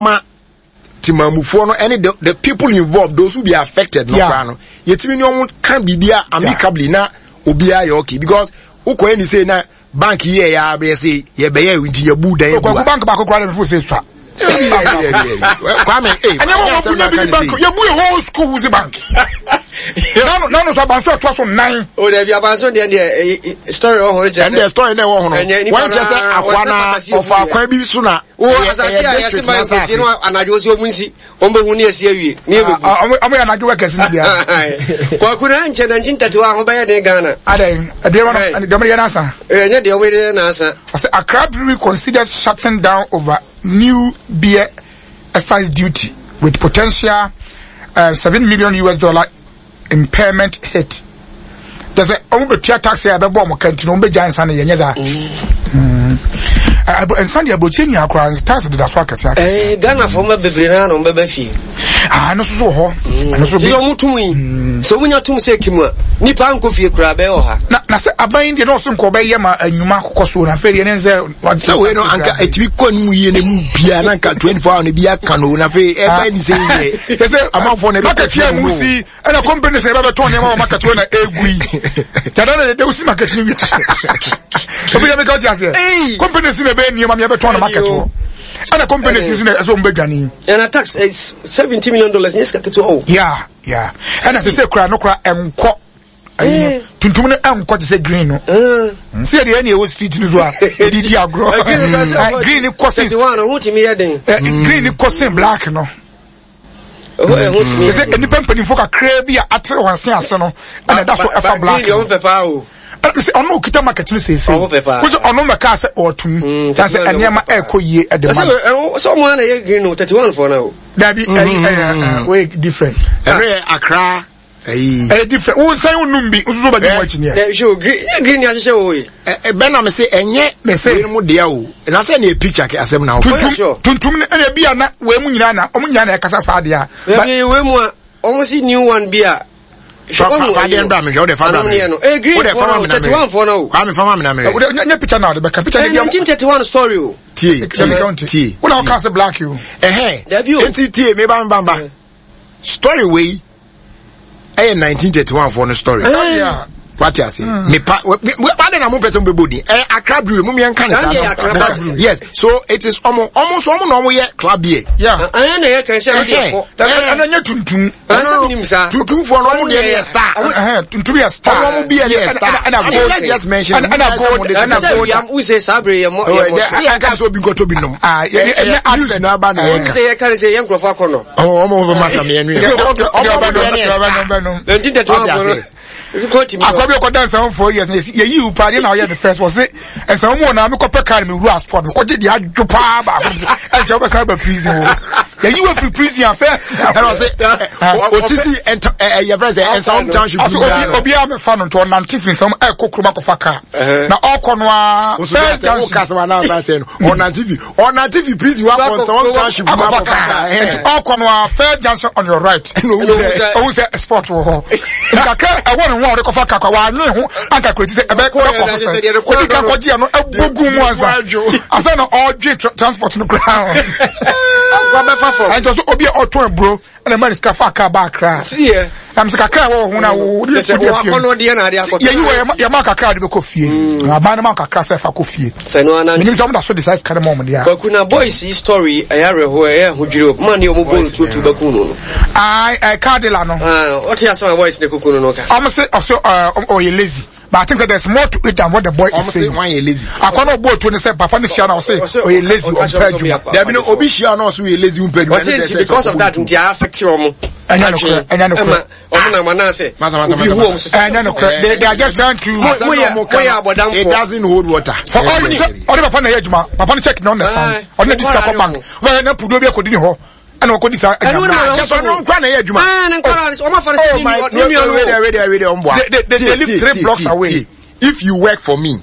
Ma temamufoɔ no ɛne the the people involved, those who be affected no koraa no, yɛtumi ne wɔn ka biribi amicably na obiara yɛ okay, because wokɔ yɛ ne sei na bank yɛ yɛ abɛyɛ sɛ yɛbɛyɛ nti yɛbu dan agu a bank baako koraa na mefo sɛ sua. Kwame, ee, ɛnyɛ wɔn wɔn bunya bi ni bank yɛbu yɛ whole school wuzi bank nanu nanu so abanso ɛtoa so nan. O dabi, abanso deɛ story wɔ hɔ kyerɛ sɛ ɛndeɛ story na ɛwɔ hɔ no wɔn kyerɛ sɛ akoa na ɔfa akwan bi so na wo asase a yɛse ma nkosie no anadwo sɛ ɔmu nsi ɔmbɛhu ne asi awie ne yɛbɛbu. Ɔmo yɛ anadwo workers no bia. Kwaku na nkyɛ 1931 ho bɛyɛ den Ghana. Adɛn, ɛdeɛ wɔn deɛ ɔmo yɛ n'asa. Ɛnyɛ deɛ ɔmo yɛ n'asa. Ɔsɛ Accra Brewery considers shutting down over new beer excise duty with potential $7 million impairment hit. Kyɛ sɛ ɔmo bɛtua tax a ɛbɛbɔ ɔmo ka nti no ɔmo bɛgya nsa no yɛnyɛ saa. Nsa deɛ aburokyire nyinaa koraa tax deda so akɛse akɛse. Ɛɛ Ghana fo ma bebree naa na ɔmo bɛba fie. Aa ɛno nso so wɔ hɔ. Ɛno nso bi. Sɛ ɔmo tum yi, sɛ ɔmo nya tum sɛ kim a, nipa nkɔ fie koraa bɛyɛ ɔha. Na sɛ aban yi deɛ na ɔso nka ɔbɛyɛ ma enyuma akokɔ so na afei deɛ ne nsɛ. Sɛ wei no anka ɛtumi kɔ ne mu yie na mu bia na anka 24 hour no bi aka no na afei ɛbɛn ne sɛ yɛ amanfoɔ na ɛbɛkɔ fie mu si ɛna company sɛ ɛbɛbɛtɔn nneɛma wɔ market wɔ na egu yi kyada na ɛdɛ wosi market no wi obi yɛ mi ka ɔte aseɛ company si na ɛbɛyɛ nneɛma mi ɛbɛtɔn na market wɔ ɛna company si na ɛsɛ wɔn bɛ dwane. Ɛna tax is $70 million nye sika ketewa o. Ya ɛna sɛ sɛ kura no kura ɛnkɔ ayi no tuntum no ɛnkɔ te sɛ green no sɛ yɛde ɛna ɛwɔ street no so a yɛde di agorɔ, green ni kɔ sin green ni kɔ sin black no sɛ nnipa mpanimfoɔ kakraa bi a atere wɔn se ase no ɛna ɛda so ɛfa black no sɛ ɔno okita market no seesei wosɛ ɔno mɛka sɛ ɔtum sɛ sɛ nneɛma ɛkɔ yie ɛde ma no. Sɛ ɔmo ana yɛ green no 31 foɔ no o. Dabi, ɛyi ɛyɛ wei different. Ɛno yɛ Accra ɛyi. Ɛyɛ different, wo nsɛn wo num bi nso so bɛ di mu akyi niɛ. Ɛ hwɛ o, green yɛ green ni ahyehyɛ wɔ hɔ yi. Ɛ bɛn na mi se ɛnyɛ wei mu deɛ o na sɛ ne yɛ picture kɛ asɛm na o. Tuntum tuntum ne ɛna bi a na wei mu nyinaa na ɔmo nyinaa na ɛkasa saa deɛ a. Ɛbi wei mu a ɔmo si new one bi a. Fa fa deɛ mbra mi hwɛ o de fa bra mi hwɛ o de fa ma mi na mi hwɛ Kwame, fa ma mi na mi hwɛ. O de nye picture na o de bɛ ka picture de bi a. 1931 story o. Tie tie tie. O na o ka se black yi o. Ɛhɛn eti tie mi ba mi ba mi ba. Story wei ɛyɛ 1931 foɔ no story. Wate ase mepa wade na mo pɛ sɛ mo bɛbɔ din ɛyɛ Accra Brewery mo yɛn ka ne saa. Yes, so it is ɔmo ɔmo nso ɔmo na ɔmo yɛ club beer. Ɛyɛ na yɛ kan sɛ ɛde ɛkɔ. Ɛna nyɛ tuntum. Tuntum foɔ no ɔmo deɛ yɛ star. Tuntum yɛ star. Ɔmo ɔmo beer yɛ star. Ɛna gold. Let's just mention. Ɛna gold. Ɛna gold. Wuse saa bere yɛ mɔ yɛ mɔ. Sɛ yɛn ka sɛ obi nkɔtɔ bi nom. Ɛnyɛ news na aba na yɛn ka. Sɛ yɛ ka ne sɛ yɛn nkurɔfoɔ akɔ no. Ɔmo ɔmo fɛ masa mi ɛnu yɛ. Ɔmo ɔmo deɛ ne yɛ star. Wate ase. Akwa bi ɔkɔda nsɛm 4 years na yɛyi wo paa deɛ na ɔyɛ ne first wɔ se nsɛm mu wɔ na mekɔpɛ car no mewura sport mekɔgye deɛ adwo paa baako ɛnkyɛ wobɛsan ba prison hɔ, yɛyi wo afiri prison a first. Ɛna ɔse otiti ɛyɛ fɛ sɛ Nsawam township. Ɔse obiara mɛfa no nti ɔnante firi Nsawam ɛkɔ kurom akɔfa car na ɔkɔ no a first junction ɔka sɛ wana asa sɛ no ɔnante fi prison wa kɔ Nsawam township akɔfa car, nti ɔkɔ no a first junction on your right owu sɛ sport wɔ hɔ nkakra ɛwɔ ne ho a ɔde kɔfa car kɔ wanwe ho anka kureti sɛ ɛbɛ kɔ so sɛ odi ka kɔgye ɛno ɛbɔ gu mu ansa na ɔdwe transport no koraa. Wabɛfa fam. Ɛnti ɔso obi a ɔtɔn aburo ɛna ɛma ne sika fa kaa ba Akra na mesɛ kakra a ɛwɔ ho na wo de sɛ kɔ fie wakɔnɔ deɛ na ade akɔtɔ. Yɛyi wɔ yɛma kakra a de bɛkɔ fie, aban no ma kakra sɛ fa kɔ fie. Fɛno anan. Menim sɛ ɔmo da so de saa sika no ma ɔmo deɛ a. Kwaku na boys yi story ɛyɛ awerɛhoɔ, ɛyɛ ahodwiri o man ne ɔmo bɔ no tuotuo bɛku no no. Ae, ɛ car dealer no. Ah, ɔte asɛm a boys ne kuku no no ka. Ɔmo se ɔso ɛɛ ɔyɛ lazy. But I think that there's more to it than what the boy is saying. Ɔmo se lazy. Akwa na ɔbɔ otuo ne sɛ papa ne hyia na ɔse ɔyɛ lazy, ɔmpɛ adwuma. Dabi no, obi hyia na ɔse ɔyɛ lazy, ɔmpɛ adwuma. Ɔse nti because of that nti a affect ɔmo. Ɛnyɛ nokorɛ, ɛnyɛ nokorɛ. Ɔmo na ma sɛ obi hu ɔmo so sɛ. Ɛnyɛ nokorɛ, they are just trying to. Mo yɛ mo yɛ abɔdamfo. It doesn't hold water. For all you ɔde papa na ɛyɛ adwuma, papa no check na ɔna san, ɔde na di sika kɔ bank, ɔbɛyɛ na puduo bi akɔdi ne hɔ. Ɛna ɔkɔ di saa. Ɛnu na kyɛ sɛ ɔno nkwa na ɛyɛ adwuma. Ɛɛ ne nkwa na ɔmo afa ne sɛ ne nua no. Wei wei wei ɔmo boa. They live three blocks away. If you work for me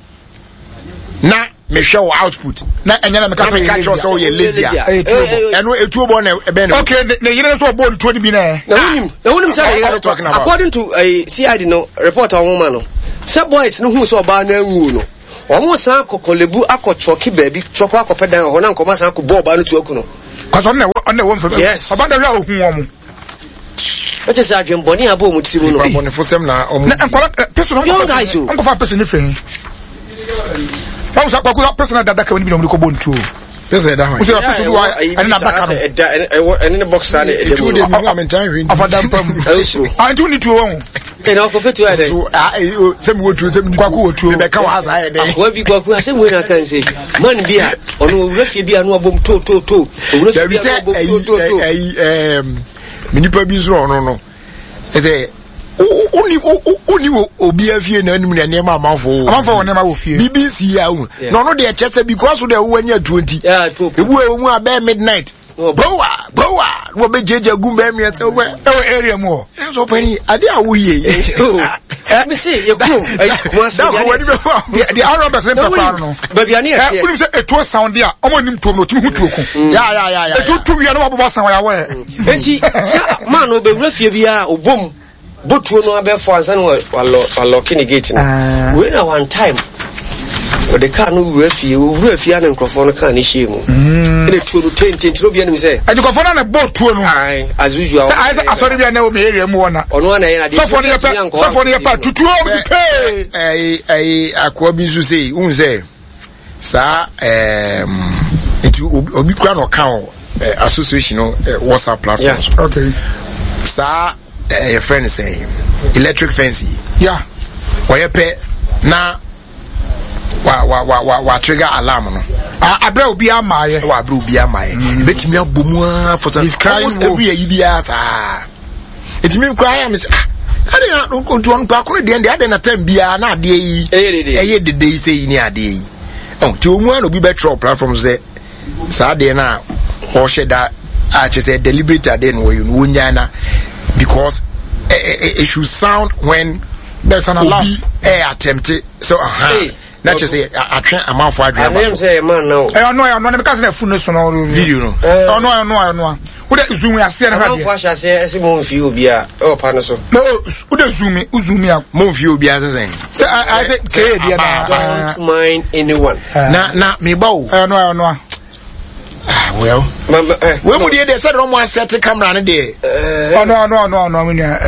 na mehwɛ wɔ output na ɛnyɛ na meka na meka kyerɛ sɛ ɔyɛ lazy a, ɛno etuo bɔ na ɛbɛn no. Okay, ne yere nso ɔbɔ ne tuo ni bi na ɛ. Na wunim na wunim sɛ ne yere no, according to CID no report a wɔn ma no sɛ boys no hu sɛ ɔbaa no anwuo no, wɔn san akɔ Korle Bu akɔ trɔki baabi trɔkɔ akɔpɛ dan wɔ hɔ na nkɔmɔ asan akɔ bɔ ɔbaa no tuo aku no. Kɔsɔ ɔno na ɛwɔ ɔno na ɛwɔ nfam. Yes. Ɔba da hwɛ a ohun wɔn. Ɛkyɛ sɛ adwembɔne abɔ wɔn tiri mu no. Nipa bɔnefo sɛm na wɔn. Na nkɔla pɛsɛ na Young guys o. Nkɔfa pɛsɛ ne fɛn. Wɔn sɛ akɔkɔ pɛsɛ na dada kɛmɛ ni bi na wɔn de kɔ bɔ ntuo. Pɛsɛ ɛda hɔ. Wosɛ pɛsɛ bi wa ɛne na adaka no. Ɛda ɛwɔ ɛne ne box saa na ɛda mu. Etuo de mi mu a mi ntan hwɛ nti. Afa da mpa mu. Ɛwɔ soro. Ah nti wonni tuo wɔn. Ɛna ɔkɔ fɛ tuo ayɛ dɛ. So ah sɛ mi wɔ tuo sɛ mi ni tuo. Kwaku wɔ tuo. Mi bɛ ka wɔ ha saa yɛ dɛ. Akoa bi kwaku asɛm wei na aka nse. Man bi a ɔno owura fie bi a no abom to to to. Owura fie bi a no abom to to to. Ɛyi ɛyi ɛɛm nipa bi nso ɔno no ɛsɛ woni woni obi afie na anim na nneɛma amanfo amanfo wɔ nneɛma wɔ fie bibi si ya wo na ɔno deɛ kyɛ sɛ because deɛ wowɔ anya tuo nti ebu ɛwɔ mu abɛɛ midnight bowa bowa na wɔbɛgyagya gu mbɛɛ mmiɛnsa wɔ ɛwɔ area mu hɔ ɛnso ɔpɛni adeɛ a woyɛ yi mese yɛ kurom kumase deɛ arɔbɛs ne mpɛkwa no baabi a ne yɛ teɛ wonim sɛ ɛtuo sound a ɔmo nim tuo no ɔtumi hu tuo ko ɛtuo tu wia na wabobɔ san wɔyɛ awɔ enti sɛ maa no ɔbɛwura fie biara ɔbom botuo no abɛfo ansa na walɔke ne gate no ah. Wei na one time ɔde kaa no wura fie owura fie ana nkurɔfoɔ no kaa no hyia mu mm. Ɛna tuo no tententen obi anim sɛ ɛdi nkurɔfoɔ no na bɔ tuo no as usual sɛ ayɛ sɛ asɔre bi a na ɛwɔ mi area mu hɔ na ɔno ana yɛ na adeɛ sɔfoɔ no yɛ pɛ sɔfoɔ no yɛ pɛ tutuo ɔmo ti pee ɛyi ɛyi akoa bi nso sɛ n sɛ saa ɛɛm nti obi kura na ɔka wɔ association no WhatsApp platform so okay saa ɛyɛ fɛ no sɛ electric fence yi yeah ɔyɛ pɛ na wa wa wa wa wa trigger alarm no. abirɛ obi ama yɛ. wɔ abirɛ obi ama yɛ. Ebetumi abɔ mu aa for some almost every year yi bi aa saa. Etumi nkura ayɛ mi sɛ ah adi na ntu ɔno paako ne deɛ deɛ adi na time biara na adeɛ yi ɛyɛ dede yi sɛ yi ne adeɛ yi. Ɔn ti wɔn mu a na obi bɛ twerɛ platform sɛ saa adeɛ na ɔhyɛ da a kyerɛ sɛ deliberate adeɛ na wɔyɛ no wɔnyaa na because it should sound when there's an alarm obi ɛ attempt sɛ ɔha na kyerɛ sɛ atwe amanfo adwene aba so. ɛyɛ ɔno ɛyɛ ɔno ɛyɛ ɔno ne ka sɛ na ɛfu ne so no video no ɔno ɛyɛ ɔno ɛyɛ ɔno wode zoom aseɛ no hwɛ amanfo ahyɛ aseɛ ɛsɛ mo nfi obi a ɛwɔ pa no so. na wode zoom zoom a. mo nfi obi a sɛ sɛn. sɛ ayɛ sɛ kee deɛ na. Don't mind anyone. Na na meba o. Ɛyɛ ɔno ɛyɛ ɔno a. Ah, well. Wei mu deɛ deɛ sɛdeɛ ɔmo asɛte camera no deɛ. Ɔno ɔno ɔno ɔno ɔmo nua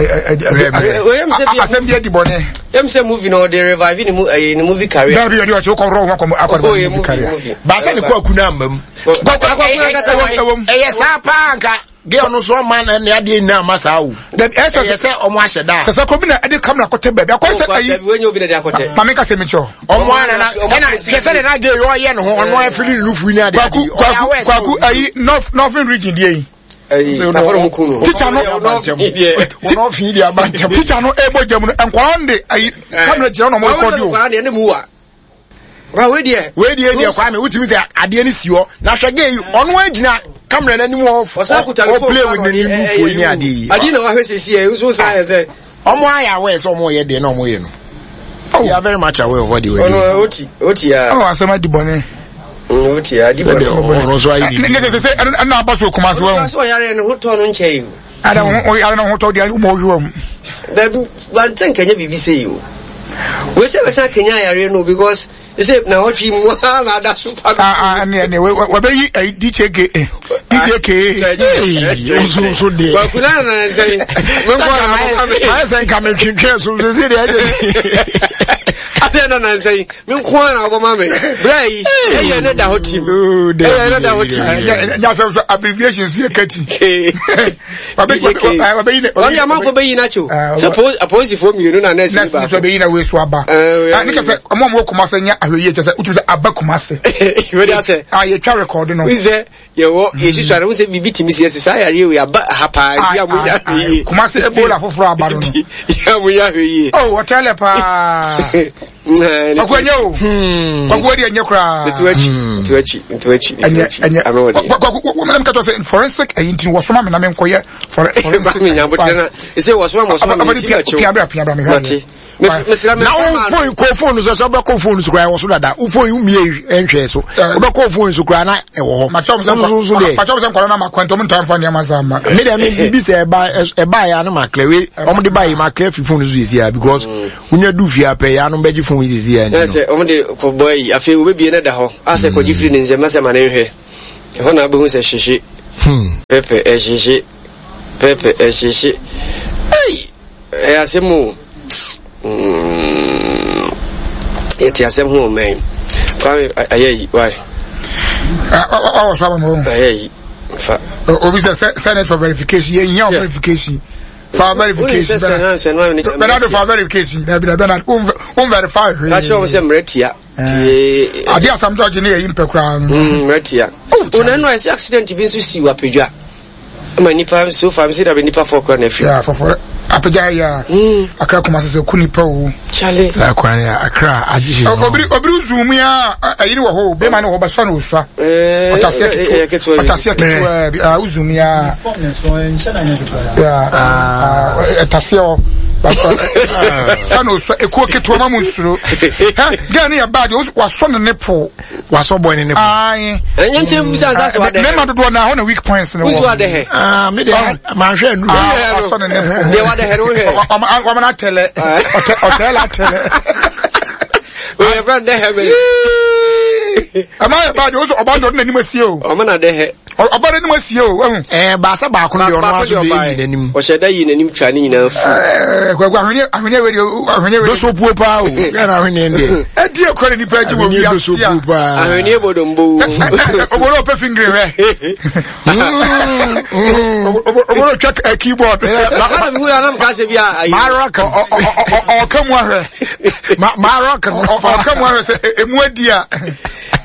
asɛm bi adi bɔne. Yɛm sɛ movie na ɔde revive ne mu ɛyɛ ne movie career. Dabi ɔde ɔkyɛ wokɔ rɔɔ ho akɔ akɔ movie career. Baasa ne kɔ aku na ama mu. Ɛyɛ saa paa nka. Girl no so ɔma na ne adeɛ nyinaa ma saa o. Ɛyɛ sɛ ɔmo ahyɛ da. Sɛ sɛ kɔ bi na ɛde kamera kɔtɛ baabi akɔ sɛ ayi. Wei obi na ɛde akɔtɛ. Maame nka sɛ mi kyerɛ. Ɔmo ara na ɛna kɛ sɛ de na girl yɛ ɔyɛ ne ho ɔno afiri ne nufu ne adeɛ. Kwaku kwaku kwaku ayi north northern region deɛ yi. Teacher no teacher no ebo gya mu no nkwadaa no de ayi kamera gyina na ɔmo rekɔdi o. Wa wei deɛ. Wei deɛ deɛ Kwame wotumi sɛ adeɛ no si hɔ na hwɛ gay ɔno agyina kamera n'anim hɔ ɔ play with n'anim nufuo yi ne adeɛ yi. Adeɛ na wahwɛ sisi yɛ nso saa yɛ sɛ. Ɔmo ayɛ aware sɛ ɔmo yɛ deɛ na ɔmo yɛ no. They are very much aware of what they were doing. Ɔno oti oti ya. Ɔwɔ asɛm adi bɔne. Oti ya adi bɔne. Ɔno nso ayɛ biribi. Ne sɛ sɛ ɛna aba so Kumasi wɔn. Ɔno nso ɔyare ne ho tɔ no nkyɛn yi o. Ada ho ɔyare ne ho tɔ deɛ ɔmo ɔhwɛ wɔn. Dabi wante nkɛnyɛ biribi sɛ yi o. Wei sɛ bɛsan kenya yareɛ no because sɛ na ɔtwe mu ha na ada so pa. Ah ah ne ne wɔbɛyi ayi DJ K DJ K. Nso nso deɛ. Kwaku na na nsɛn. Menkɔ na akɔka me. Ayɛ sɛ nka metwentwɛn so sɛ sɛ deɛ ɛyɛ. Adeɛ na na nsɛn. Me nko ara na wɔbɔ me. Bra yi, ɛyɛ ne da hɔ tim. Ɛyɛ ne da hɔ tim. Nya sɛ so abbreviation so yɛ kati. Wabɛyi ne. Wɔn amanfo bɛyi n'akyi o. Sɛ apolisifoɔ mmienu na nɛɛsi ni baako. Nɛɛsi bɛyi na wei so aba. Ne kyɛ sɛ ɔmo a ɔmo wɔ Kumase nyɛ ahwɛ yie kyɛ sɛ wotumi sɛ aba Kumase. Wei de asɛ. A yɛtwa rekɔɔdo no. Sɛ yɛwɔ yɛsusua no sɛ biribi tumi si ɛsɛ saa yareɛ wei aba ha paa nti a monya ahwɛ yie. Kumase Ebola foforɔ aba no no. Yɛ a monya ahwɛ yie. Oh ɔtɛlɛ paa. Kwaku ɛnyɛ o. Kwaku ɛdi ɛnyɛ koraa. Ntu akyi ntu akyi ntu akyi ntu akyi. Ɛnyɛ ɛnyɛ kwaku wɔn nam katɔ sɛ forensic ɛyi nti wɔsoma mi na mi nkɔyɛ forensic. Mi nya abotire na ɛsɛ wɔsoma wɔsoma mi ti akyi o. Pia bra pia bra mi hwɛ adeɛ. Mesra na wo phone kɔ phone so sɛ wobɛkɔ phone so koraa ɛwɔ so dada wo phone womie nhwɛ so wobɛkɔ phone so koraa na ɛwɔ hɔ makyɛw sɛ nkɔla no ma kwantɔm ntaa mfa nneɛma saa ma me dɛ me bibi sɛ ɛba ɛba yɛ ano ma clear wei ɔmo de ba yi ma clear fi phone so sisi a because wonya du fie apɛ yɛ ano bɛgye phone yi sisi a nti no ɔmo de kɔbɔ yi afei wobɛbie no da hɔ asɛ kɔgye firi ne nsɛm asɛ ma ne nhwɛ ɛhɔ na abɛhu sɛ hyehye. Pɛpɛ ɛhyehye pɛpɛ ɛhyehye ei ɛyɛ asɛm o mm, yɛte asɛm ho ɔman Kwame ayɛ yi why ɔwɔ so ama ma ayɛ yi fa obi sɛ send it for verification yɛn hia verification fa verification Bernard fa verification dabi dabi Bernard um verify hwee kakyɛ wɔn sɛ mmerɛ tia ade asam dɔgye ne yɛyi mpɛ koraa no mmerɛ tia ɔna no ɛsɛ accident bi nso si wɔ apedwa ma nipa so far msi dabe nipa fɔ kora na afiri ya fɔfɔ apagya ya hmm. akra kuma sɛ ku nipa o chale akwan ya akra agye obiri obiri zoom ya ayiri wɔ hɔ bɛma ne hɔ bɛsɔ na osua ɔtaseɛ ketewa ɔtaseɛ ketewa bi a zoom ya ya ɛtaseɛ hɔ sɛ na osua ekuo ketewa ma mu nsuro hɛ gɛn ne yɛ baa deɛ wasɔ ne ne po wasɔ bɔ ne ne po. Ayi. Ɛnyɛ nkyɛn bisa nsa sɛ wadɛ. Mɛma dodoɔ na hɔ na weak points ne wɔ. Wusu wadɛ hɛ. Aa mi de maa hwɛ nu. Wasɔ ne ne po. Deɛ wadɛ hɛ no hwɛ. Wama na tɛlɛ ɔtɛlɛ la tɛlɛ. Oyɛ fɛn dɛ hɛ mɛ. Ɛma yɛ ba de o sɔ ɔba de ɔde n'anim asie o. Ɔma na dɛ hɛ. Ɔba n'anim asie o. Ɛɛ baasa baako deɛ ɔno aso de yi n'anim. Ɔhyɛ da yi n'anim twa ne nyinaa fu. Ɛɛ kwaku ahweneɛ ahweneɛ wei deɛ ahweneɛ wei. Doso puo paa o yɛn ahweneɛ deɛ. Ɛdi ekura ne nipa agye wɔ Ahweneɛ doso wiase a. puo paa. Ahweneɛ bɔ dombo. Obolo ɔpɛ fingiri hwɛ. Obolo twa keyboard. Bàbá mi wúlò anam ká se bi a ayi. Maa rock. Ɔka mu ahwɛ. Maa rock. Ɔka mu ahwɛ sɛ emu adi a.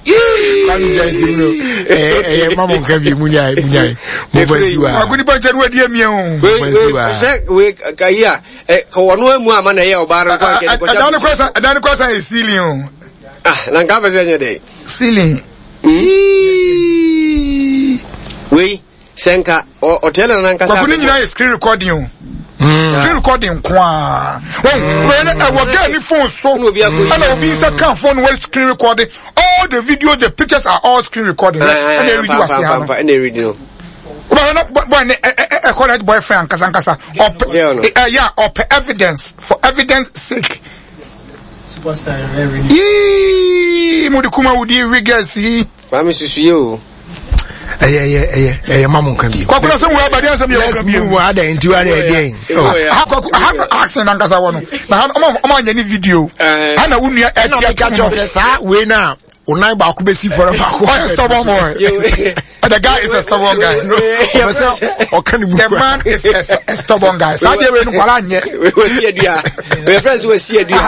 Kwame gya nsi mu no ɛyɛ ma mo nka bi mu nyae mu nyae mo fa nsi wa. Kwaku nipa nkyɛn wadi amia o. Wei wei sɛ wei kayi a ɛ kɔwɔ no emu ama na ɛyɛ ɔbaa no nkɔ nkɛ kɔhyɛ. Ɛdan no kɔ sa ɛdan no kɔ sa yɛ ceiling o. Ah na nka fɛ sɛ ɛnyɛ dɛ. Ceiling. Wei. Sɛ nka ɔteɛ na nankasa. Kwaku ne nyinaa yɛ screen recording o. Hmm. Screen recording nko a. Wɔn wɔn ɛwɔ girl ni phone so. Ɛna obi nsa kan phone wɔ screen recording. All the videos, the pictures are all screen recording. Ɛna ɛredi wɔ ase ha no. Ɛna ɛredi no. Wọ́n na boy ne ɛkɔ na boyfriend ankasa ankasa. Ɔpɛ ɛyɛ ɔpɛ evidence for evidence sake. Yee mo de kuma wudi wiggers yi. Maame susu yɛ o. Ɛyɛ ɛyɛ ɛyɛ ɛyɛ ma mo nka bi. Kwaku na sɛ wo abadi asɛm yɛ nka bi. Let's move adan nti wa deɛ deɛ. Ha kwaku ha action nankasa wɔ no. Na ha ɔmo ɔmo anyɛ ne video. Ha na wo nua ɛti. Ɛna mi ka kyerɛ sɛ saa wei na o nan baako bɛ si fɔlɔ baako. Ɔyɛ stubborn boy. The guy is a stubborn guy. The man is a, a stubborn guy. Saa deɛ wei no kwara nyɛ. Wasi adua. Wei friends wasi adua.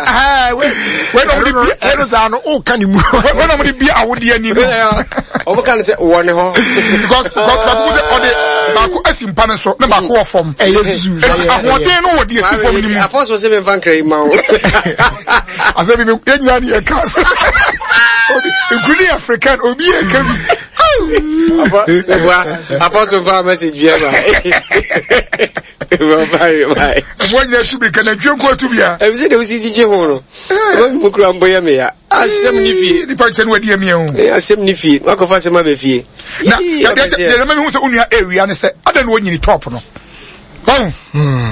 Wei na ɔmo de bi. Ɛno saa no o ka ne mu. Wei na ɔmo de bi awodeɛ ni no. Ɔmo ka ne sɛ wɔ ne hɔ. Because baako sɛ ɔde baako asi mpa no so na baako wɔ fam. Ɛyɛ susu. Eti ahoɔden no wɔ deɛ esi fam ni mu. Apɔsɔ sɛ mi nfa nkira yi ma o. Asɛ bi mi yɛn nyinaa ni yɛ ka so. Obi including African obi yɛ ka bi. Apostle fa message bi ɛba. Bye bye. Ɛfɔ nyina tu bi kana ntwe nko tu bia. Ɛbi sɛ de wosi gyigye ho no. Ɛbɛ mu kura mbɔ yɛ me ya. Asɛm ni fie. Nipa nkyɛn wadi ɛmi o. Ee asɛm ni fie. Wakɔfa asɛm abɛ fie. Na yɛ yɛ mɛ hu sɛ onua ewia ne sɛ adan na onyini top no. Ɔn.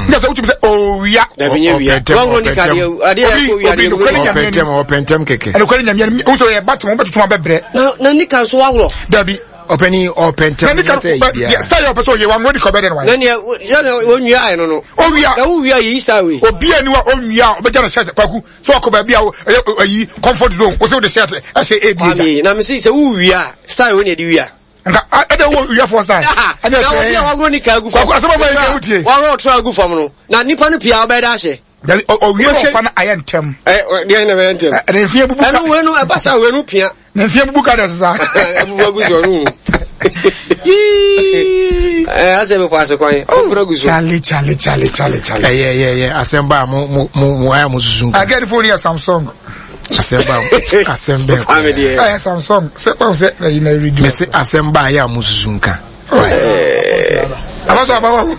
Nyɛ sɛ wotumi sɛ owia. Dabi nye wia. Wɔn ni kadeɛ adeɛ yɛ kɔ wia deɛ. Ɔpɛntɛm ɔpɛntɛm kɛkɛ. Ɛnukwari nyamia ni wosɔ yɛ ba tɛmɛ wɔbɛtutu abɛbrɛ. Na na nika nso waworɔ. Dabi. Ɔpɛni ɔpɛntɛm nyɛ sɛ yi bia. Sɛ yɛ ɔpɛ sɛ ɔyɛ wa ŋɔ ni kɔ bɛ dɛ no wa. Na nea yɛ na onwia ayɛ no no. Owia. Na wo wia yi Easter wei. Obi ani wa onwia ɔbɛgya ne shirt kwaku sɛ ɔkɔ baabi a ɛyɛ ayi comfort zone wosɛ wode shirt ɛhyɛ ebi. Kwame na mesi sɛ wo wia style wei na ɛde wia. Nka ɛdɛ wo wiafoɔ style. Ɛnyɛ sɛ. Na obi a waworɔ nika agu fam. Kwaku asɛm ɔbɛ yɛ wotie. Waworɔ ɔtra agu fam no na nipa no pii a ɔbɛyɛ dɛ ahyɛ. Dabi ɔwie ɔfa no ayɛ ntɛm. Ɛ deɛ na bɛyɛ ntɛm. Ɛne nfie bubu ka. Ɛno wei no ɛba sa wei no pia. Ne nfie bubu ka dɛ sisan. Ɛbubu agu so ɔno. Ɛɛ asɛ mi kɔ ase kwan. Ɔfura gu so. Chale chale chale chale chale. Ɛyɛ ɛyɛ ɛyɛ asɛm ba mo mo mo mo ayɛ mo susu nka. Agɛdi fone yɛ Samsung. Asɛm ba asɛm bɛn kɔ. Ɛyɛ Samsung sɛ ɔn sɛ ɛyi na ɛredi. Mɛ sɛ asɛm ba ayɛ a mo susu nka. Abaso abawa.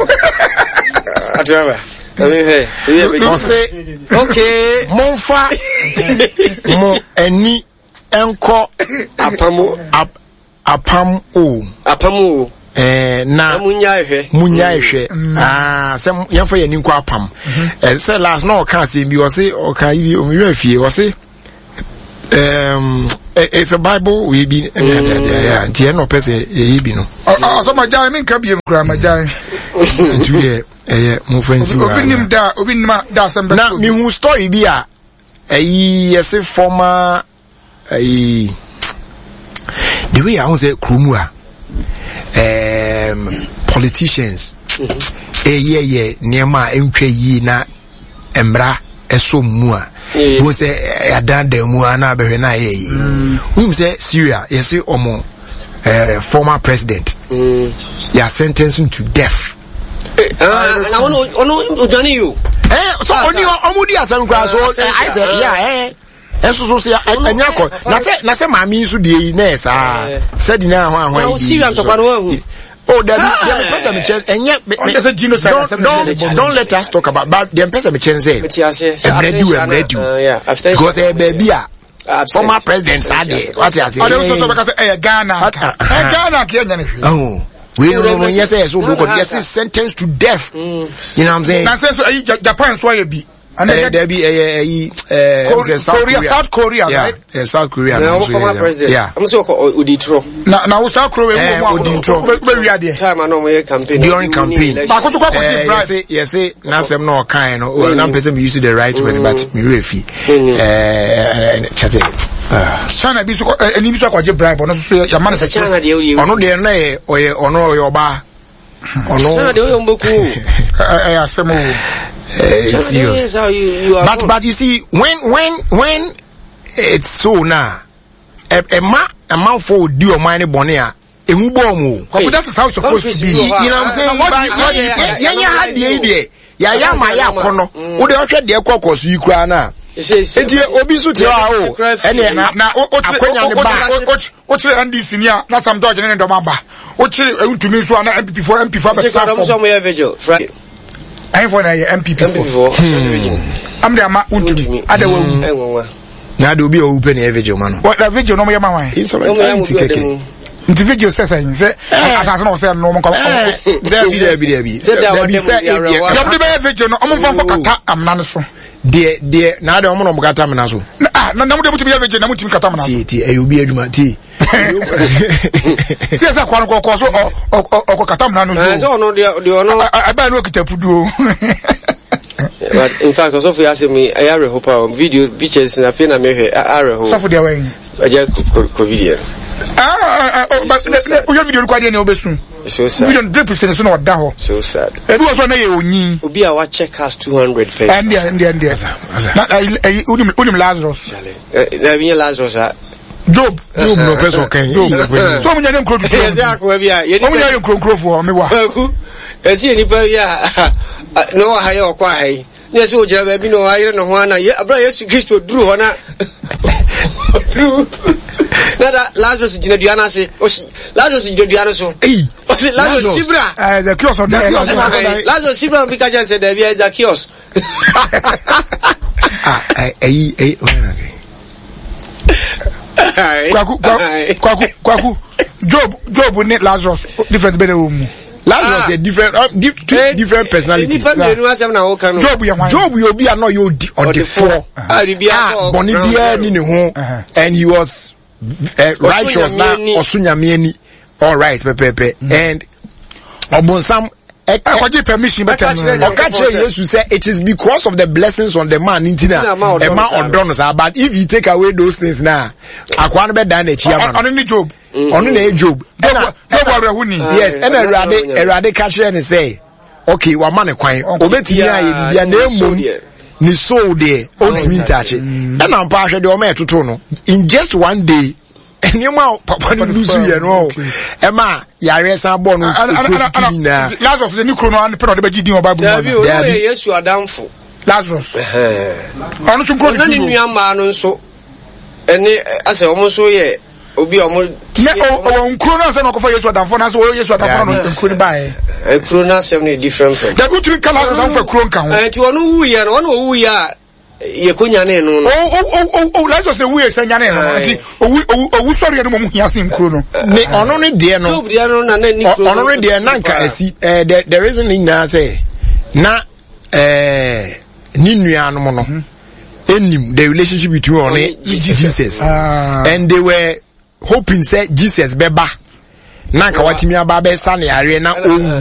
Atiraba. Ɔse okay. Momfa mo ani nkɔ apam apam o. Apam o. Eh, na munyae hwɛ. Munyae hwɛ. Mm. Ah, sɛ yɛmfa yɛn ani nkɔ apam. Mm-hmm. Eh, sɛ last na ɔka asɛm bi ɔse ɔka yi bi ɔmewura fie ɔse um, eh, it's a bible wei bi ɛne ade ade ayɛ a nti ɛna ɔpɛ sɛ yɛyɛ bi no. Ɔsɔ ma gyae menka biem koraa ma gyae. Nti deɛ ɛyɛ mo fɛn si wa. Obi nim da obi nim da asɛm bɛ. Na mehu story bi a ɛyi yɛse former ɛyi the way ahun sɛ kurom a politicians ɛyɛ yɛ nneɛma a ɛntwa yie na mmara ɛsɔ mu a wɔn sɛ ɛdandan mu a na abɛhwɛ na ayɛ yie wɔn sɛ Syria yɛse ɔmo former president yɛ sentencing to death. Na ɔno ɔno ɔdwane yi o. Ɛ so ɔni ɔmo di asɛm koraa so ayɛ sɛ yɛ ɛ ɛnso so sɛ ɛnyɛ akɔ na sɛ na sɛ maame yi nso deɛ yi na yɛ saa sɛdi na ahɔn ahɔn yi di. Syria ntɔkwa no wɔn Oh, dabi deɛ mepɛ sɛ mekyɛ ɛnyɛ don't don't don't let us talk about but deɛ mepɛ sɛ mekyɛ sɛ ɛmrɛ di o ɛmrɛ di o because ɛyɛ baabi a former president saa deɛ wate ase. Ɔde nso sɛ ɔbɛka sɛ ɛyɛ Ghana nka ɛyɛ Ghana nka ɛnyɛ ne hwee. Wei no no nyɛ sɛ ɛsɛ obi kɔ yɛsɛ sentence to death. You know what I'm saying? Na sɛ nso ɛyi Japan nso ayɛ bi. Ɛyɛ dɛbi ɛyɛ ɛyi ɛɛ South Korea South Korea right? Yeah, South Korea. Na ɔmo former president. Yeah. Ɔmo sɛ ɔkɔ odi trɔ. Na na wo South Korea wo mu odi trɔ. Wo bɛ wi adeɛ. Time ano ɔmo yɛ campaign. During campaign. Baako so kɔ akɔ di bribe. Yɛsɛ yɛsɛ n'asɛm na ɔkan no. O na mpɛ sɛ mi use the right word but mi werɛ fi. Ɛɛ kyɛ sɛ. China bi so kɔ ɛni bi so akɔgye bribe ɔno so yɛ yamma ne sɛ. China deɛ ɔyɛ. Ɔno deɛ no yɛ ɔyɛ ɔno ɔyɛ ɔbaa. Ɔno. China deɛ ɔyɛ ɔmbɛku o. Ɛyɛ asɛm o. It's serious. But but you see when when when it's so now ɛma amanfoɔ odi ɔman ne bɔne a ehu bɔ ɔmo o. Kwaku that is how it's supposed to be. You know what I'm saying? Yɛn yɛ ha deɛ yi deɛ yɛayɛ ama yɛ akɔnɔ wo deɛ ɔhwɛ deɛ kɔ kɔ so yi koraa no a nti obi nso te hɔ a o ɛne akwanya ne ba wokyerɛ ndc ni a na sam george ne ne dɔm aba wokyerɛ ntumi nso a na npp foɔ mp foɔ abɛtena fam ɛhefoɔ na ɛyɛ npp foɔ am de ama wontumi ada wawu na de obi a owu pɛ na ɛyɛ vigil ma no na vigil no ɔmo yɛ ma wan nti vigil sɛ sɛ sɛ asase na ɔsɛ no ɔmo nkɔ dabi dabi dabi dabi sɛ ebi yɛm de bɛyɛ vigil no ɔmo nfa nkɔ kata amena no so deɛ deɛ na de ɔmo na ɔmo kata amena so ah na na mo de mo tumi yɛ vigil na mo tumi kata amena so ti ti ɛyɛ obi adwuma ti sɛ sɛ kwan kɔkɔ so ɔkɔ kata amena no so sɛ ɔno deɛ deɛ ɔno ɛbɛn no okita puduo But in fact, ɔsɔfo yi asɛm yi ɛyɛ awerɛho paa video pictures na afei na mehwɛ awerɛho. Sɔfo deɛ wɛn. Ɛgya kɔ video. Wohwɛ video no kɔ adeɛ nea wobɛsu. So sad. Video no drip sene so na ɔda hɔ. So sad. Ebi wɔ so na yɛ onyin. Obi a wakyɛ cars 200 pɛ. Ɛndeɛ ɛndeɛ ɛndeɛ. Na ɛyi wonim wonim Lazarus. Na ebi nyɛ Lazarus a. Job. Job na ɔpɛ sɛ ɔkan. Job. So ɔmo nyɛ ne nkuro tutu. Ɛsɛ akoa bi a. Ɔmo nyɛ yɛ nkuro nkurofoɔ ɔmo wa. Ɛsɛ yɛ nipa bi a na ɔwɔ ha yɛ ɔkɔ ha yi. Ne ɛsɛ ogyina baabi na ɔayere ne ho ana yɛ abira Yesu Kristo duru hɔ na duru na da Lazarus gyina dua no ase. Lazarus gyina dua no so. Ɔsi Lazarus sibra. Ɛɛ Zacchaeus ɔdɛ. Lazarus sibra bi ka kyerɛ sɛ dɛbi ɛ Zacchaeus. Ah, ɛyi ɛyi Kwaku kwaku kwaku Job Job ne Lazarus different bɛ na ɛwɔ mu. Lazarus yɛ different uh, di, two eh, different personalities. Nipa mmienu asɛm na ɔka no. Job yɛ hwan. Job yɛ obi a na ɔyɛ odi ɔdefoɔ. A bɔnne biara ni ne ho and he was uh, righteous na ɔso nyame ani all right pɛpɛɛpɛ and ɔbɔnsam ɛkɔgye permission bɛtɛ no ɔka kyerɛ yesu sɛ it is because of the blessings on the man nti na ɛma ɔdɔ no saa but if you take away those things na akoa no bɛdan n'akyi ama no ɔno ne job ɔno na ɛyɛ job ɛna job awerɛho ni yes ɛna awurade awurade ka kyerɛ ne sɛ okay wama ne kwan obetumi ayɛ biribi a na emom ne soul deɛ ɔntumi ntaakye ɛna mpa ahwɛ deɛ ɔma ɛtoto no in just one day nneɛma a papa no lusu yɛ no ɛma yareɛ san bɔ no kuro tutu nyinaa. Lazarus de ne kuro no ano pɛ na ɔde bɛgye din wɔ Bible mu ana. Dabi o yɛ Yesu adamfo. Lazarus. Ɔno nso nkuro tutu no. Ɔno ne nua mmaa no nso ɛne asɛ wɔn nso yɛ obi a wɔn. Ne ɔwɔ nkuro no asɛ na ɔkɔfa Yesu adamfo na asɛ wɔyɛ Yesu adamfo na nkuro no baeɛ. Nkuro no asɛm no yɛ different from. Dabi wotumi ka Lazarus anfa kuro nka ho. Nti ɔno wuyɛ no ɔno owuyɛ a yɛ ko nyane no no. O o o o Lazarus na ewuiɛ sɛ nyane no no nti owu owu owu sɔre no mom hia sen kuro no. Ne ɔno ne deɛ no. Job deɛ no na na ni kuro. Ɔno ne deɛ na nka asi ɛɛ the the reason ne nyinaa sɛ na ɛɛ ne nuanom no enim the relationship between ɔne Jesus ah. and they were hoping sɛ Jesus bɛba. na nka watumi aba abɛsa ne yareɛ na owu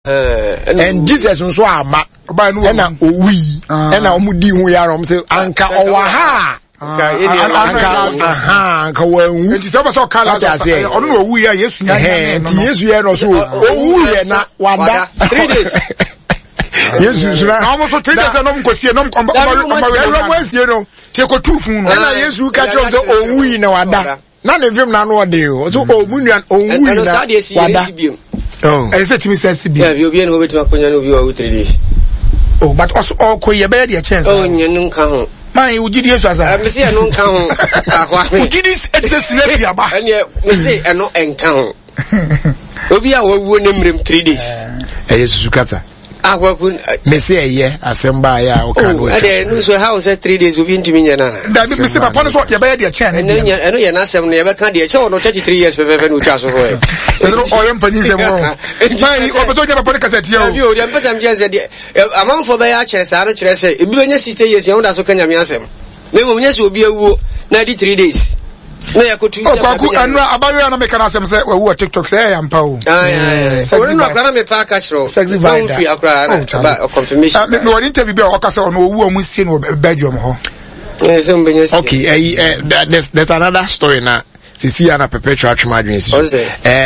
and Jesus nso ama ɛna owui ɛna wɔn di ho yare wɔn sɛ anka ɔwɔ ha a anka wanwu nti sɛ ɔbɛ sɛ ɔka Lazarus ɔno na owu yɛ Yesu nya nya nti Yesu yɛ no so owu yɛ na wada 3 days Yesu nso na na wɔn nso 3 days na wɔn nkɔsie na wɔn ɔmɔ asie no tie kɔ tu fun no ɛna Yesu ka kyerɛ wɔn sɛ owu yi na wada na ne mfem na ano ɔden o so ɔmu nua ɔnwu yi na wada ɛsɛ sɛ tumi sɛ si bi ɛbi obi ɛna obetumi akonya no obi wa wu 3 days oh but ɔso ɔkɔ yi ɛbɛyɛ deɛ kyɛn saa oh nyɛ no nka ho maa yi wogye di esu asa mesi ɛno nka ho akwa wogye di ɛte sɛ sinɛ bi aba ɛneɛ mesi ɛno nka ho obi a wawuo ne mmerɛm 3 days ɛyɛ susu kasa akwaku mesi ɛyɛ asɛm ba ayɛ a ɔka no ɛdeɛ ɛno nso ɛha wo sɛ 3 days obi ntumi nyɛ no ana dabi mesi papa no so yɛbɛyɛ deɛ kyɛn ne deɛ ɛno yɛ n'asɛm no yɛbɛka deɛ kyɛ wɔ no 33 years pɛpɛpɛ na ɔtwa so hɔ ɛ ɛno ɔyɛ mpanyin sɛm wɔ maa ɔpɛ sɛ ɔnyɛ papa no kasa tia o dabi o deɛ mpɛ sɛ mkyɛn sɛ deɛ amanfoɔ bɛyɛ akyɛ saa no kyerɛ sɛ ebi bɛnya 60 years yɛn ho da so ka nyame asɛm na mmom nyɛ sɛ obi awuo na adi 3 days na yɛkɔtu sɛ kwaku ɛno abayewa na meka no asɛm sɛ wawu wɔ tiktok sɛ ɛyɛ ampa o ɔno no akora na mepɛ aka kyerɛ sexy vida firi akora na confirmation mewɔ ne interview bi a ɔka sɛ ɔno ɔwu a ɔmo sie no wɔ belgium hɔ okay uh, there's another story na sisi ana perpetual atwem adwene si so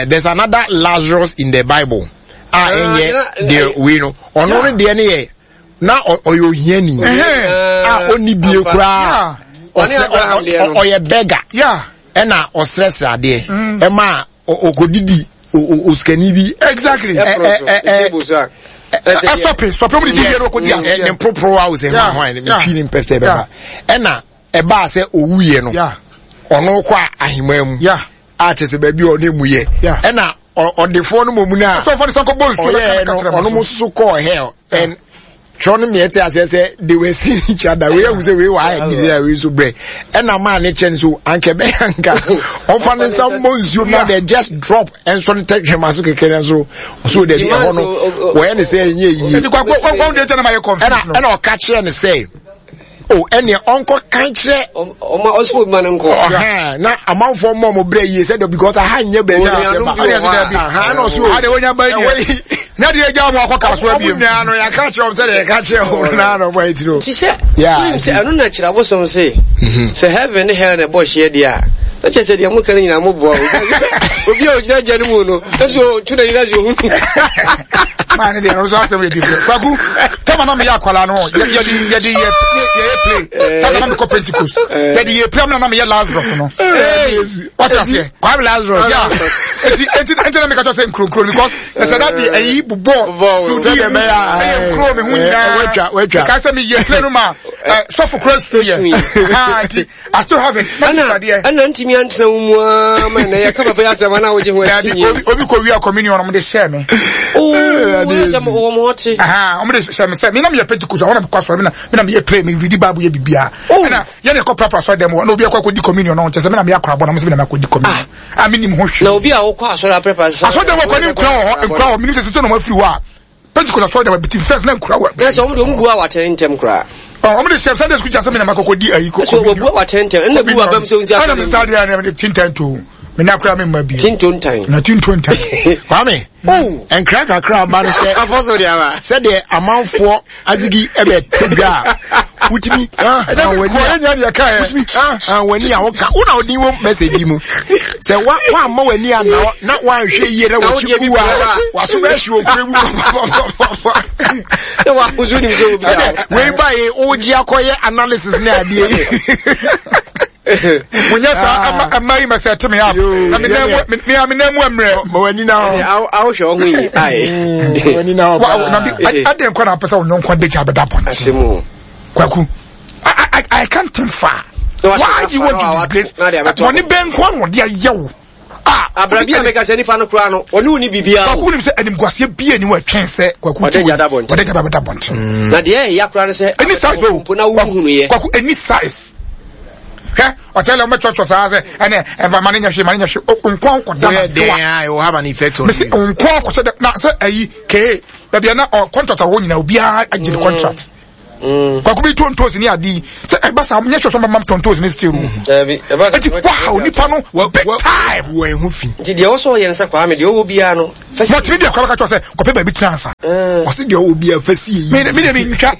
there's another Lazarus in the Bible a ɛnyɛ deɛ wei no ɔno no deɛ no yɛ na ɔyɛ ohiani a ɔnni bie koraa ɔyɛ bɛga ɛna ɔsrɛsrɛ adeɛ ɛma ɔkɔdidi osikani bi. Exactly. Ɛsɔpe sɔpe mu de di yɛ no kɔdi aseɛ. Ne mporoporowa awo sɛ hwan hwan ne twi ne mpɛ sɛ ɛbɛba ɛna ɛbaa sɛ owuiɛ no ɔno kɔ ahemmaa mu a kyerɛ sɛ baabi a ɔne mu yɛ ɛna ɔdefoɔ no mmom no a ɔyɛɛ no ɔno mo nso kɔɔ hell and twerɛ no mmiɛ te aseɛ sɛ they were seeing each other wei ahu sɛ wei wɔ ayɛ didi a wei nso brɛ ɛna maa ne kyɛn so anka ɛbɛyɛ anka ɔfa ne nsa mmɔ nsuo na they just drop ɛnso ne tɛtwɛma so kɛkɛ no nso ɔso dabi ɛhɔ no wɔyɛ ne sɛ ɛnyɛ yie ɛna ɔka kyerɛ ne sɛ o ɛnneɛ ɔnkɔ kan kyerɛ. ɔma ɔsɔ obi ma no nkɔ. ɔhɛn na amanfoɔ mmɔ ɔmo brɛ yie sɛ because aha nyɛ baabi a sɛ ba aha na ɔsɔ o ade wonya ba yie na deɛ egya ɔmo akɔ kaa so abiem. ɔmo nyinaa no yɛaka kyerɛ ɔmo sɛ deɛ yɛka kyerɛ ɔmo naa na ɔmo ayɛ tiri o. ti sɛ wonim sɛ ɛno na kyerɛ abosom se sɛ heaven ne hell na ɛbɔ hyeɛ deɛ a na kyerɛ sɛ deɛ moka no nyinaa moboa o obi a ɔgyina gya no mu no ɛso tu na nyina sɛ ɔhunu maa ne deɛ ɔno nso asɛm yɛ different kwaku tɛma na meyɛ akwalaa no yɛde yɛde yɛ yɛyɛ play sasa na mekɔ pentecost yɛde yɛ play amena na meyɛ lazarus no wate aseɛ kwame lazarus ya eti eti eti na meka kyerɛ sɛ nkuronkuro because ɛsɛ da de ɛyi bobɔ sudi mu ɛyɛ nkuro me ho nyinaa watwa watwa meka sɛ meyɛ play no ma sɔfo kura su yɛ ha nti I still have it. Ɛna ɛna ntumi antena wo mu aa ma na yɛka papa yi asɛm ana wogye ho akyi nyɛ. Obi obi kɔ wia communion ɔmo de hyɛ me. Oo sɛ mo wɔn ɔte. Ɔmo de hyɛ me sɛ mi na mi yɛ Pentecost ɔmo na mi kɔ asɔre mi na mi na mi yɛ play mi read Bible yɛ bibia. Ɛna yɛn kɔ prapra asɔre dɛm hɔ na obi akɔ akɔ di communion ɔmo kyɛ sɛ mi na mi yɛ akorabɔ na ɔmo sɛ mi na mi akɔ di communion. A mi nim ho hwee. Na obi a wokɔ asɔre aprapra asɔre dɛm hɔ kɔ ne nkura wɔ hɔ nkura wɔ mi nim sɛ sɛ na ɔmo afiri hɔ a. Pentecost asɔre dɛm abiti first na nkura wɔ. Na sɛ wɔn de wɔn bu a wɔatɛn ntɛm koraa. Ɔ wɔn de sɛ Sunday school kyerɛ sɛ mi na ma kɔkɔ di ayi kɔ. Ɛsɛ wɔbu a wɔatɛn ntɛm ɛna bu abam sɛ nsi asɔre. Ɛna mi nsa deɛ ɛna mi tintan to mi na kura mi mma bi. Tinto ntan. Na tinto ntan. Kwame. Oh. Nkira kakra aba no sɛ. Afɔso de aba. Sɛdeɛ amanfoɔ azigi ɛbɛ to dwa a wotumi wotumi w'ani a woka wo na wodin wɔ message mu sɛ woamma w'ani anna na woanhwɛ yie na wɔkyi wu a waso bɛhye okura mu sɛdɛ wei bae wogye akɔyɛ analysis ne adeɛ yi monyɛ saa ɛma ɛma yi mɛsɛ ɛte me up na me nan mu me me nan mu mmerɛ. ma w'ani na hɔ. awohwɛ ɔho yi ayi. w'ani na hɔ paa. na bi adeɛ nkɔ na apɛ sɛ ɔnyɔnko adagya abɛda abɔnten. Kwaku I I I can't think far. Why do you want to disgrace? Wɔne bɛn nko na ɔde ayɛ wo. Ah, abrabi a meka sɛ nipa no koraa no ɔne wo ni biribiara. Kwaku nim sɛ animguaseɛ bi ani wɔ ɛtwɛn sɛ kwaku ɔde gya da bɔnten. Ɔde gya da bɔnten. Mm. Na deɛ ɛyɛ koraa no sɛ ɛni size o mpo na wohunu yɛ. Kwaku ɛni size. Hwɛ ɔtɛlɛ ɔmɛ twɛtwɛ saa sɛ ɛnɛ ɛnfa ma ne nyɛ hwee ma ne nyɛ hwee nkɔn kɔ da na doa. It will have an effect on you. Mesi nkɔn kɔ sɛ na sɛ ɛyi kee baabi a na ɔ contract a wɔwɔ nyinaa obiara agye ne contract. Kwaku bi to ntoos ne ade yi sɛ ɛba saa nyɛ sɛ ɔma tɔ ntoos ne stew. Eti wahaw nipa no big time. Wɔn ho fi. Nti deɛ ɔsɔ yɛn sɛ Kwame deɛ ɔwɔ biara no. Wɔtumi deɛ kora bɛka kyerɛ sɛ kɔpɛ baabi tena ansa. Ɔsi deɛ ɔwɔ biara fɛ si yi. Mi de mi ntwa.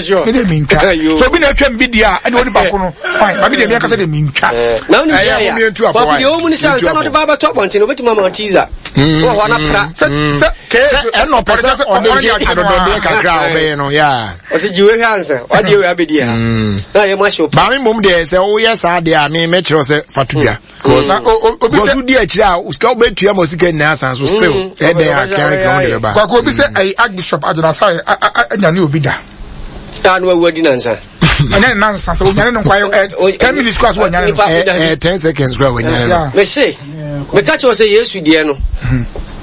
Sure. Mi de mi ntwa. So obi na atwa mi bi deɛ a ɛna ɔni baako no fine. Ba mi deɛ mi ankasa de mi ntwa. Na ɔni bi yɛ ya. Kwaku deɛ ɔwɔ mu ni sɛ ansa na ɔde ba abɛtɔ abɔnten obetumi ama teaser. Wɔ hɔ na pra. Sɛ sɛ Sɛ ɛnna ɔpɛ sɛ ɔde gye adɔdɔdeɛ kakra a ɔbɛyɛ no yaa. Ɔsɛ gye wei hwɛ ansa wadeɛ wei abɛdi ha. Na yɛ mu ahyɛ o. Maame mmom deɛ sɛ woyɛ saa deɛ a me mɛkyerɛ sɛ fa to dwa. Because because wodi akyire a sika wobɛtua ma sika nyinaa asan so still ɛdɛn akeankea wo de bɛba. Kwaku obi sɛ ɛyi Archbishop Adonasare anyane obi da. Taa no awu adi nansa. Ɛnyɛ ne nansa sɛ onyane no nkwa yɛ 10 minutes kora so wɔnyane no. Ɛɛ 10 seconds kora wɔnyane no. Mese meka kyerɛ sɛ Yesu deɛ no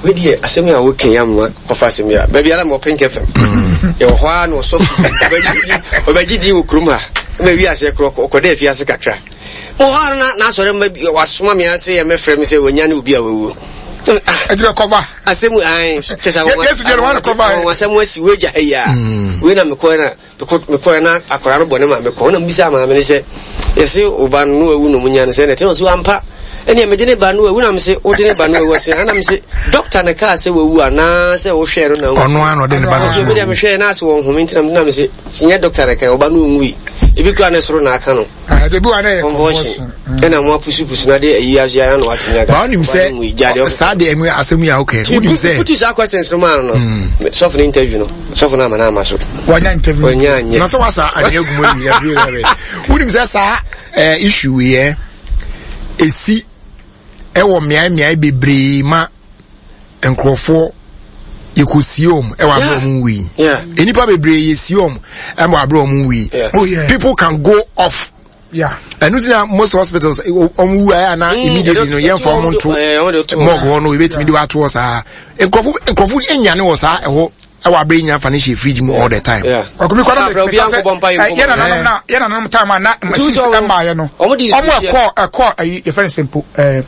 wei deɛ asɛm a woka yi ama kɔfa asɛm yi a baabi ara ma ɔpɛn kɛfɛm yɛwɔ hɔ ara na ɔsɔfo ɔbɛgye din wɔ kurom ha ma wi aseɛ korɔ ɔkɔda afiase kakra mo hɔ ara na n'asɔre mma bi wasoma me ase yɛ mɛfrɛ me sɛ wɔnya ne obi a wawuo. Ɛdi bɛ kɔba. Asɛm ayi kyɛ sɛ Yesu deɛ no wɔn kɔba. Wɔn asɛm asi wei gya ha yi a wei na mekɔɛ na mekɔɛ na akwadaa no bɔ ne maame kɔ na mbisa maame no sɛ yɛse ɔba no no wawu na ɔmo nya no sɛ na ɛte na ɔse ampa ɛnea mede ne ba no wawu na mese wode ne ba no wawu ɔse ana mese dɔkta na kaa sɛ wawu anaa sɛ wohwɛɛ no na ɔno ano ɔde ne ba no so medeɛ mehwɛɛ na ase wɔn home nti na mese nyɛ dɔkta na kaa ɔba no ɔnwui ebi kura ne soro na aka no ebi wa na yɛ convulsion ɛna mo apusupusu na de ayi ahyia na watumi aka. Báwo nim sɛ saa de ɛmu asɛm yi a ɔkɛ no wonim sɛ. Putu saa questions no maa no no sɔfo no interview no sɔfo no ama no ama so. Wanya interview. Wanya anyɛ. Na sɛ wasa anyɛ gu mu awi awi awi wonim sɛ saa ɛɛ issue yɛ esi ɛwɔ mmeae mmeae bebree ma nkurɔfoɔ yɛkɔsie wɔn ɛwɔ abere wɔn nwui nnipa bebree yɛsie wɔn ɛwɔ abere wɔn nwui people can go off ɛno ti na most hospitals wɔn wu ayɛ ana immediately no yɛnfa wɔn nto morgue hɔ no ebetumi de wato hɔ saa nkurɔfo nkurɔfo enyane wɔ saa ɛhɔ ɛwɔ abere nya fa ne hyɛ fridge mu all the time. Ɔkùnrin kwan na meka sɛ yɛn nananom na yɛn nananom time a na machines ɛmaa yɛ no ɔmo ɛkɔ ɛkɔ ɛyi yɛfɛ ne sɛ mpo ɛɛ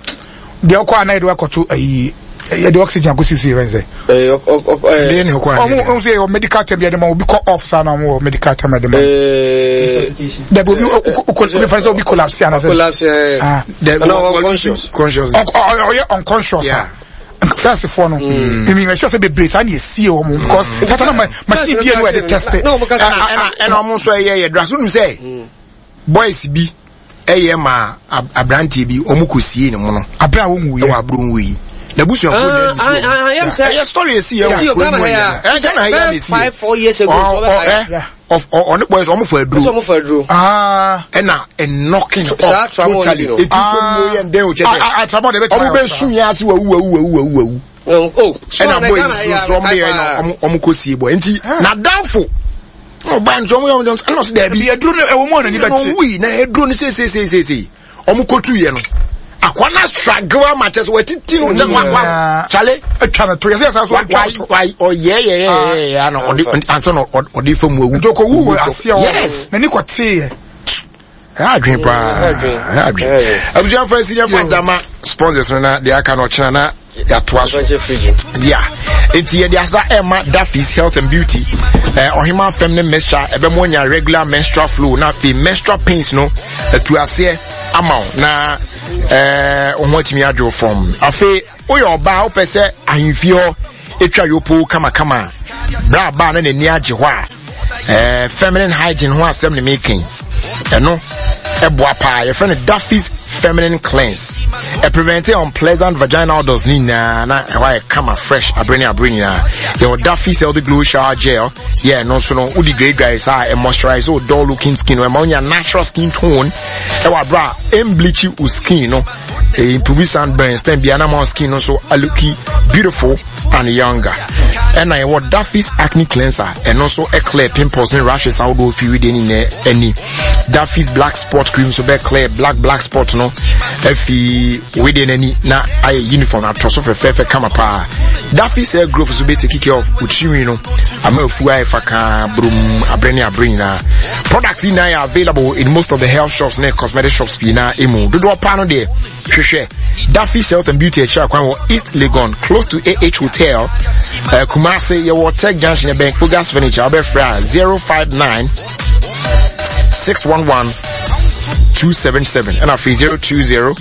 deɛ ɔkɔ a na yɛde wakɔto ayi yɛde oxygen akɔsi so yɛfɛ ne sɛ. Ɛɛ ne ɔkɔ a ɔmo ɔmo sɛ yɛ medical term yɛde ma obi kɔ off saa na ɔmo wɔ medical term yɛde ma. Dabi obi okɔ obi fɛn sɛ obi collapse ana sɛ. Collapse ɛɛ. Dabi unconscious. Ɔyɛ unconscious a. First foɔ no mi mi sure sɛ bebree saa na esie wɔn because sata na machine bi yɛ no yɛde test. Ɛna ɛna ɔmo nso ɛyɛ yɛ dra so nim sɛ boys bi ɛyɛ ma aberanteɛ bi ɔmo kɔ sie ne mu no. Abere a wɔn wuiɛ. Ɛwɔ abere wɔn wuiɛ. N'abusuafoɔ na ɛdi so. Ɛyɛ story esi yɛ wɔ kuro mu ɛyɛ. Ɛyɛ Ghana ha yɛ na esi yɛ. Ɔne boys ɔmo fɔ aduro. Ɔmo fɔ aduro. Ɛna knocking off totally. Eti so mu yɛ ndɛn o kyɛ sɛ. Ɔmo bɛ sun yɛ ase wawu wawu wawu wawu wawu. Ɛna boys nso ɔmo de yɛ na ɔmo kɔ sie boy nti n'adanfo ɔba nti ɔmo yɛ ɔmo ɛna ɔsi dɛbi. Aduro no ɛwɔ mu a n'ani bɛ te. Ɔwui na aduro no seeseeseesei ɔmo kotu yɛ no akwa na struggle ama kyɛ sɛ watiti no kyɛ wa wa kyale. Atwa no to yɛsɛ yɛsɛ so atwa to. Wa ɔyɛ yɛ yɛ yɛ yɛ ana ɔde ansa na ɔde fa mu awu. Nti ɔkɔ wu wɔ aseɛ hɔ. Yes. N'ani kɔ tee yɛ. Ɛyɛ adwene paa ɛyɛ adwene. Abusuafo asi ne fast dama sponsors no na deɛ aka no ɔkyena na yɛatoa so. Yeah. Enti yɛde asa ɛma Daffy's Health and Beauty. Ɔhema fam ne mixture ɛbɛmo anya regular menstrual flow na afei menstrual pains no atu aseɛ ama wo na wo ho atumi adwo fam. Afei woyɛ ɔbaa wopɛ sɛ ahemfie hɔ etwa yopo kamakama bra baa na n'ani agye hɔ a feminine hygiene ho asɛm ne meka yi ɛno ɛboa paa yɛfrɛ no Daffy's feminine cleanse ɛprevente unpleasant vaginal odors ne nyinaa na ɛhɔ ayɛ kama fresh abere ne abere nyinaa. Yɛwɔ Daffy's healthy glow shower gel yɛ ɛno nso no wode dwaedwae saa ɛmoisturize wo dull looking skin no ɛma wonya natural skin tone ɛwɔ abere a ɛmbleachi wo skin no, improve sunburns time bia na ma skin no nso alooki beautiful and younger. Ɛna yɛwɔ Daffy's acne cleanser, ɛno nso clear pimples ne rashes ahodoɔ fi wedeɛ ne nyinaa ani. Daffy's black spot cream nso bɛ clear black black spot no afi wedeɛ n'ani na ayɛ uniform atɔ so fɛfɛɛfɛ kama paa. Daffy's hair growth nso bɛ take care of otirinwi no ama afu ayɛ fakaa burum abere ne abere nyinaa. Products yi nyinaa yɛ available in most of the health shops ne cosmetic shops pii na emu dodoɔ paa no deɛ hwehwɛ Daffy's Health and Beauty akyiri akwan wɔ East Legon close to AH Hotel, Kumasi. Kumase yɛwɔ Tech Junction ɛbɛn Kogas Furniture wobɛfrɛ a 059 611 277 ɛna afei 020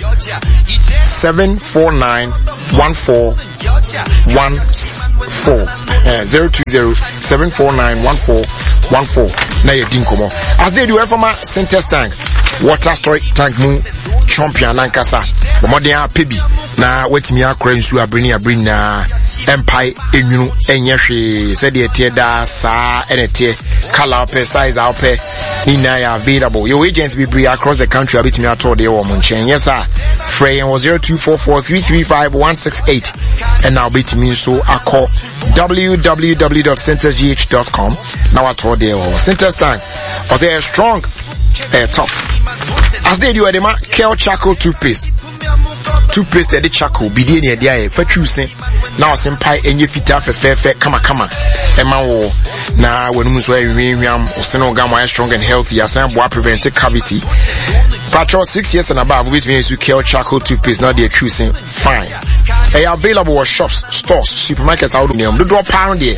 749 1414 020 749 1414 na yɛdi nkɔmmɔ asde di wɔɛfama Sintex tank water storage tank mu champion nankasa bɔmmɔden apɛ bi na watumi akora nsuo abere ne abere nyinaa ɛmpae enwunu ɛnyɛ hwee sɛdeɛ ɛteɛ daa saa ɛna ɛteɛ colour wopɛ size a wopɛ ne nyinaa yɛ available yɛwɔ agents bebree across the country a wobɛtumi atɔ deɛ wɔ mo nkyɛn nyɛ saa frɛ yɛn wɔ 0244335168 ɛna wobɛtumi nso akɔ www.centersgh.com na watɔ deɛ wɔ hɔ Centers tank ɔsɛ ɛyɛ strong ɛyɛ tough as they do ɛde ma kel charcoal toothpaste toothpaste ɛde charcoal bidie ne ɛde ayɛ fa twiw se na ɔse mpae ɛnyɛ fitaa fɛfɛɛfɛ kamakama ɛma wo na w'anum nso ayɛ hwamhwam ɔse no gam ayɛ strong and healthy asan aboa prevent cavity patrɔ six years and above wobɛtumi ayɛ so kel charcoal toothpaste na ɔde atwiw se fine ɛyɛ available wɔ shops stores supermarkets ahodoɔ nneɛma dodoɔ paa no deɛ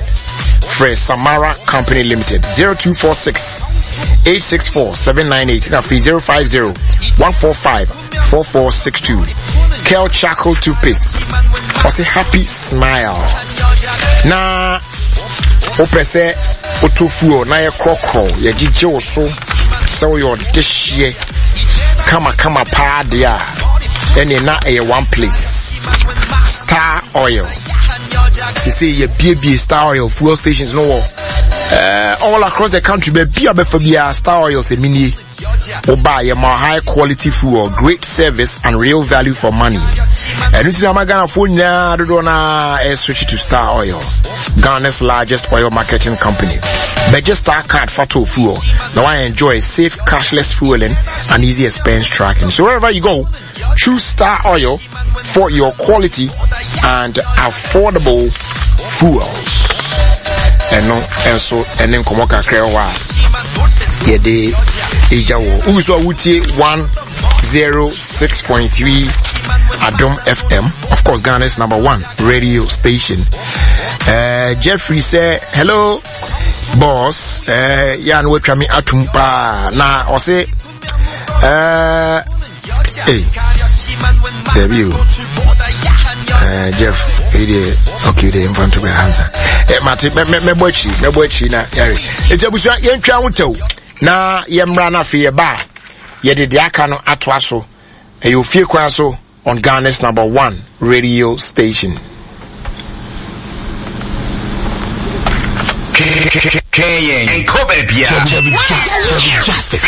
frɛ Samara Company Limited 0246 864 798 na afei 050 145 4462 Kel Charcoal Toothpaste ɔsɛ happy smile na wopɛ sɛ wotɔ fuel na yɛkorɔkorɔ yɛgyegye wo so sɛ woyɛ ɔdehyeɛ kamakama paa deɛ a ɛne na ɛyɛ one place star oil sese yɛbiebie star oil fuel stations no wɔ uh, all across the country baabi a bɛfa biara star oil sɛ menie woba yɛma high quality fuel great service and real value for money ɛno nti na ama ghanafoɔ nyinaa dodoɔ no a switch to star oil ghana's largest oil marketing company bɛgye star card fa to fuel na enjoy safe cashless fueling and easy expense tracking so wherever you go choose star oil for your quality and affordable fuels ɛno nso ɛne nkɔmmɔ kakra wɔ a yɛde ɛgya wɔ wogu so a wotie 106.3 Adom FM of course Ghana's number one radio station uh, Jeffrey sɛ hello boss uh, yɛ a na watwa me atom paa na ɔse Uh, hey, dabi o. Uh, Jeff, hey deɛ, okay deɛ, mfa nto bɛ hansa. Eh, mate, mɛbɔ akyiri, mɛbɔ akyiri na yare. Eti abusua, yɛntwa ho tɛw na yɛmmra na afei yɛba a, yɛde deɛ aka no atoa so. Ɛyɛ ofie kwan so on Ghana's number one radio station. Nkɔ baabiara. Justice.